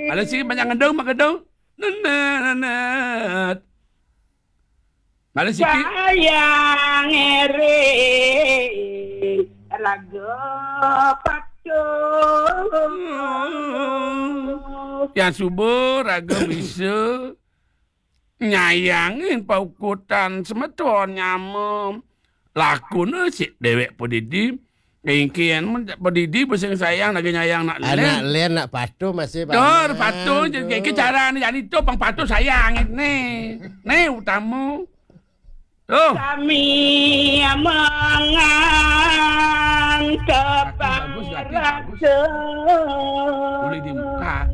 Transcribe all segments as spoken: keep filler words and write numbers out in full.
Mala siki banyak ngedong, magedong. Nenet, nenet. Mala siki. Sayang ering raga patuh. Hmm. Yang suba raga bisa nyayangin paukutan semeton nyama. Lakuna sik dewek padidi. Kengken padidi besing sayang lagi nyayang nak len. Anak len nak patuh masih dah patuh je. Kengken cara ni jadi tu pang patuh sayang ni. Ni utama. Oh. Sami mangan kepang rasa. Boleh dibuka.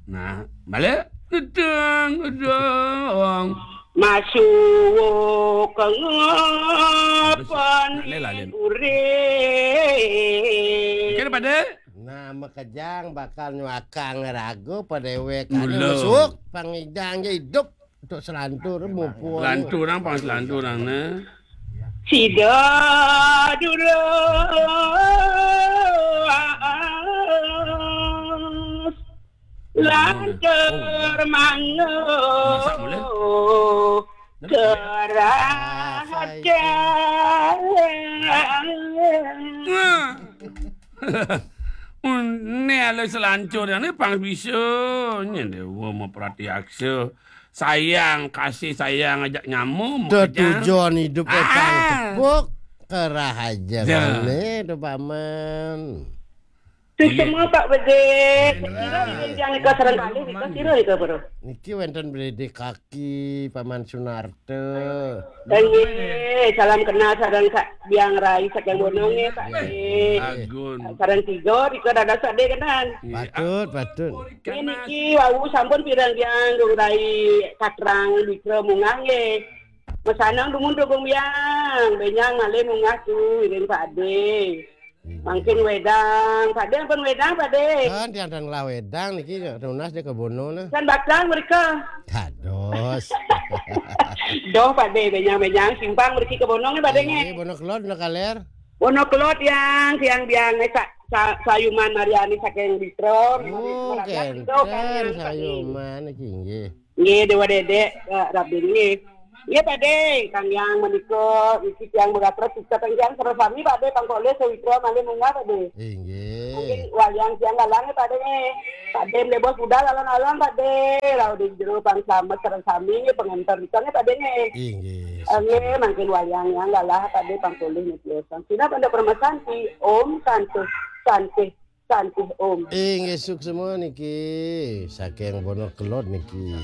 Nah, balik. Gedang, gedang. Masuk ke ngepan. Nak lela, Lin. Urip. Kira pada? Nah, makejang bakal nyuakang raga padewek. Mula. Masuk, pangidang je hidup. Untuk selantur, mumpung. Selantur, nang pang selantur, nang, nah. Sida dulu lantur manguh. Masak mula. Kerajaan. Nah. Ni ala selantur yang ni pang bisa. Ni dewa mau perhati aksa. Sayang, kasih sayang ajak nyamuk. Tujuan hidup ah. Tepuk kerah aja. Ya. Ni tu paman. Tu semua Pak Bedek. Kira ni yang nika serang kali, nika kira nika baru. Niki wenten Bedek kaki, Paman Sunarta. Nggih, salam kenal sareng Kak Biang Rai saking Bonong nggih, Pak. Nggih. Agun. Sareng tiga, tiga dados Pak De kenan. Patut, patut. Ini niki wau sampun pirang Biang Rai Katrang Mitra munggah nggih. Mesanang dumun Gung Biang, benyang malih munggah tu iring Pak De. Mangkin wedang, Pak De ampun wedang, Pak De. Kan tiang-tiang lah wedang niki nunas di kebono nah. Kan bakal mereka. Dados. Doh, Pak De, benyang-benyang simpang mereka kebono nggih, Pak De nggih. Nggih, bono kelod, bono kaler. Bono kelod yang tiang biang eh, sa, sa, sayuman Mariani saking Bistro. Oh, kenten sayuman iki nggih. Nggih, Dewa Dedek, eh, Rabin nggih. Nggih, Pak De, Kang Yang menika iki tiang beratra kita Kang Yang sareng sami Pak De pangkolih sawitra malih munggah Pak De. Inggih. Mungkin wayang tiang galang Pak De nggih. Pak De mlebos budal alon-alon Pak De. Rauh di jero pang slamet sareng sami nggih pengenter kita nggih Pak De nggih. Inggih. Nggih, mangkin wayang yang galah Pak De pangkolih niki. Sina pada permesan ti Om Santi Santi Santi Om. Inggih suksma niki saking Bono Kelod niki.